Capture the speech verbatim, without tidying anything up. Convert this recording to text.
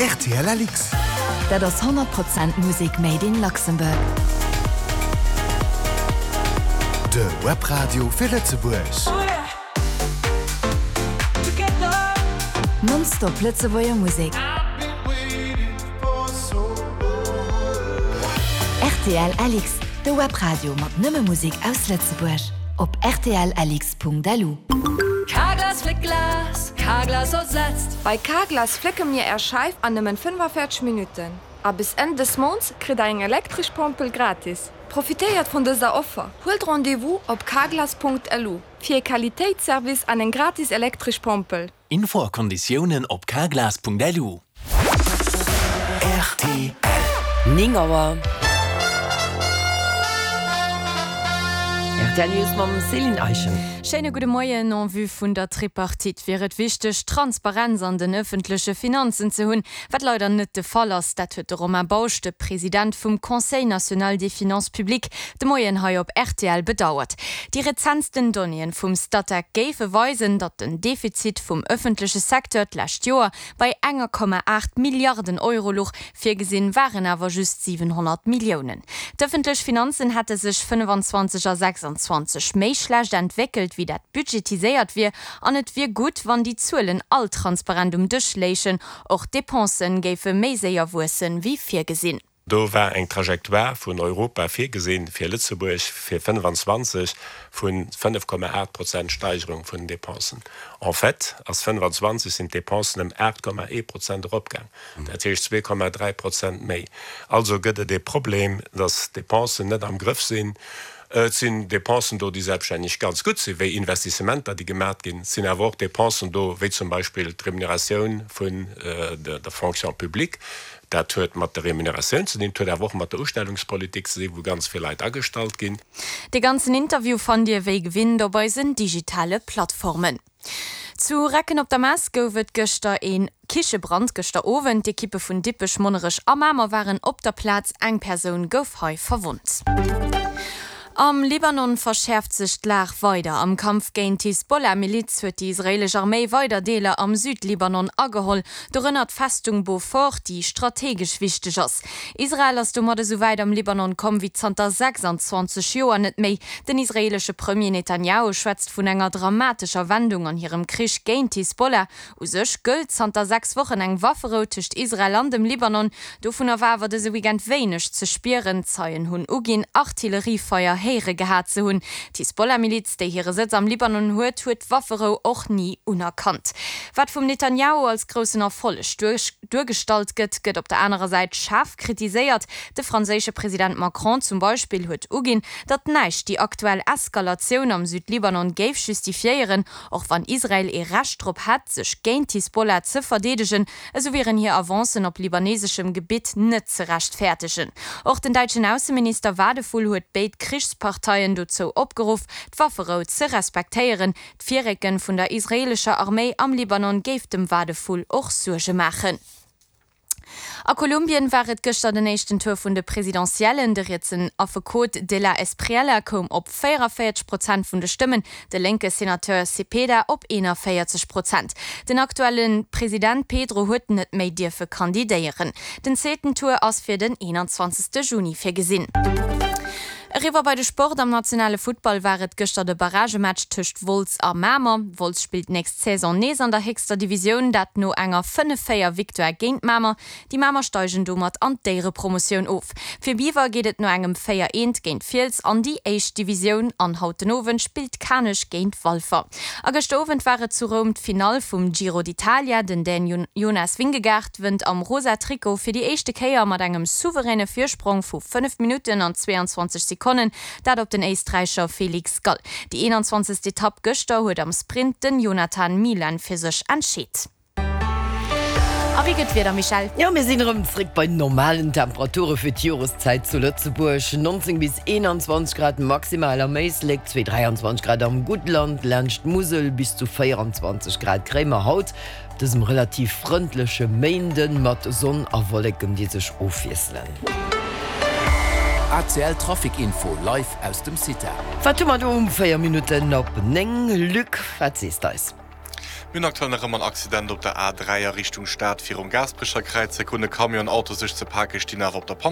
Rtl Alix. Dat ass honnert Prozent Musek made in Luxembourg. De Webradio fir Lëtzebuerg. Nonstop Lëtzebuerger Musek. Rtl Alix, de Webradio mat nëmme Musek aus Lëtzebuerg. Op rtl-alix.lu. Carglass fléckt Glas, Carglass ersetzt. Bei Carglass flécke mir Är Scheif an nëmmen fënnefenvéierzeg Minutten. A bis Enn des Mounts kritt der eng elektresch Pompel gratis. Profitéiert vun dëser Offer! Huelt Rendez-vous op carglass.lu fir e Qualitéitsservice an eng gratis elektresch Pompel. Info a Konditiounen op carglass.lu. Rtl. Néng Auer. Rtl News mam Céline Eischen. Schéine gudde Moien. En vue vun der Tripartite wier et wichteg, Transparenz an den ëffentleche Finanzen ze hunn, wat leider net de Fall ass. Dat huet de Romain Bausch, de President vum Conseil national des finances publiques, de Moien hei op rtl bedauert. Déi rezentsten Donnéeën vum Statec géife weisen, datt den Defizit vum ëffentleche Secteur d'lescht Joer bei enger Komma aacht Milliarden Euro luch, virgesinn waren awer just siwenhonnert Milliounen. D'ëffentlech Finanzen hätte sech fënnefenzwanzeg a sechsanzwanzeg méi schlecht entwéckelt, wéi dat budgetiséiert wier, an et wier gutt, wann déi Zuelen all transparent um Dësch léichen. Och d'Dépensen géife méi séier wuessen, wéi virgesinn. Do war eng Trajectoire vun Europa virgesinn fir Lëtzebuerg fir fënnefenzwanzeg vu fënnef Komma aacht Prozent Steigerung vun den Dépensen. En fait ass fënnefenzwanzeg sinn d'Dépensen ëm aacht Komma ee Prozent eropgaang, dat heescht zwee Komma dräi Prozent méi. Also gëtt et ee Problem, datt d'Dépensen net am Grëff sinn. Et sinn Dépensen do, déi selbststänneg ganz gutt sinn, wéi Investissementer, déi gemat ginn. Et sinn awer och Dépensen do, wéi zum Beispill d'Remuneratioun vun der Fonction publique. Dat huet mat der Remuneratioun ze dinn, et huet awer och mat der Ustellungspolitik ze dinn, wou ganz vill Leit agestallt ginn. De ganzen Interview fannt Dir wéi gewinnt op eisen digitale Plattformen. Zu Recken op der Mess gouf et gëschter ee Kichebrand. Gëschter Owend, d'Ekippe vun Dippech, Monnerech a Mamer waren op der Plaz. Eng Persoun gouf hei verwonnt. Am Libanon verschäerft sech d'Lag weider. Am Kampf géint d'Hisbollah-Miliz huet déi israeelesch Arméi weider Deeler am Südlibanon ageholl, dorënner d'Festung Beaufort, déi strategesch wichteg ass. Israel ass domat esou wäit am Libanon komm wéi zanter sechsanzwanzeg Joer net méi. Den israeelesche Premier Netanjahu schwätzt vun enger dramatescher Wendung an hirem Krich géint d'Hisbollah. U sech gëllt zanter sechs Wochen eng Wafferou tëscht Israel an dem Libanon. Dovunner war awer dëse Weekend wéineg ze spieren. Zeien hunn uginn, Artilleriefeier héiere gehat ze hunn. D'Hisbollah-Miliz, déi hire Sëtz am Libanon huet, huet d'Wafferou och ni unerkannt. Wat vum Netanjahu als groussen Erfolleg duergestallt gëtt, gëtt op der anerer Säit schaarf kritiséiert. De franséische President Macron zum Beispill huet uginn, datt näischt déi aktuell Eskalatioun am Südlibanon géif justifiéieren. Och wann Israel ee Recht drop hätt, sech géint d'Hisbollah ze verdeedegen, esou wieren hir Avancen op libaneseschem Gebitt net ze rechtfäertegen. Och den däitschen Ausseminister Wadephul huet béid Krichsparteien dozou opgeruff, d'Wafferou ze respektéieren. D'Virrécke vun der israeelescher Arméi am Libanon géif dem Wadephul och Suerge maachen. A Kolumbien war et gëschter den éischten Tour vun de Presidentiellen. De rietsen Affekot De la Espriella koum op véierevéierzeg Prozent vun de Stëmmen, de lénke Senateur Cepeda op eenenvéierzeg Prozent. Den aktuelle President Pedro huet net méi dierfe kandidéieren. Den zweeten Tour ass fir den eenanzwanzegste Juni virgesinn. Eriwwer bei de Sport, Am nationale Futtball war et gëschter de Barragematch tëscht Wolz a Mamer. Wolz spillt nächst Saison nees an der héchster Divisioun, dat no enger fënnef véier Victoire géint Mamer. Déi Mamer steigen domat an d'Éierepromotioun of. Fir Biwer geet et no engem véier eent géint Fiels an déi éischt Divisioun an haut den Owend spillt Kanech géint Walfer. A gëschter Owend war et zu Roum d'Finall vum Giro d'Italia. Den Dän Jonas Vingegaard wënnt am rosa Trikot fir déi éischte Kéier mat engem souveräne Virsprong vu fënnef Minutten an zweeanzwanzeg Sekonnen, dat op den Éisträicher Felix Gall. Déi eenanzwanzegst Etapp gëschter huet am Sprint den Jonathan Milan fir sech entscheet. A wéi gëtt d'Wieder, Michèle? Jo, mir sinn erëm zréck bei normalen Temperature fir d'Joreszäit zu Lëtzebuerg, nonzéng bis eenanzwanzeg Grad maximal am Éislek, zwee dräianzwanzeg Grad am Guttland, laanscht d'Musel bis zu véieranzwanzeg Grad kréie mer haut op dësem relativ frëndleche Méinden mat Sonn a Wolleken, déi sech ofwiesselen. A C L Trafic Info live aus dem CITA. Wat hu mer do um véier Minutten op néng? Luc, wat sees d'eis? Mir hunn aktuell nach ëmmer en Accident op der A dräi a Richtung Stad virum Gaasperecher Kräiz. Hei kruten e Camion an Auto sech ze pake, stinn awer op der Panne.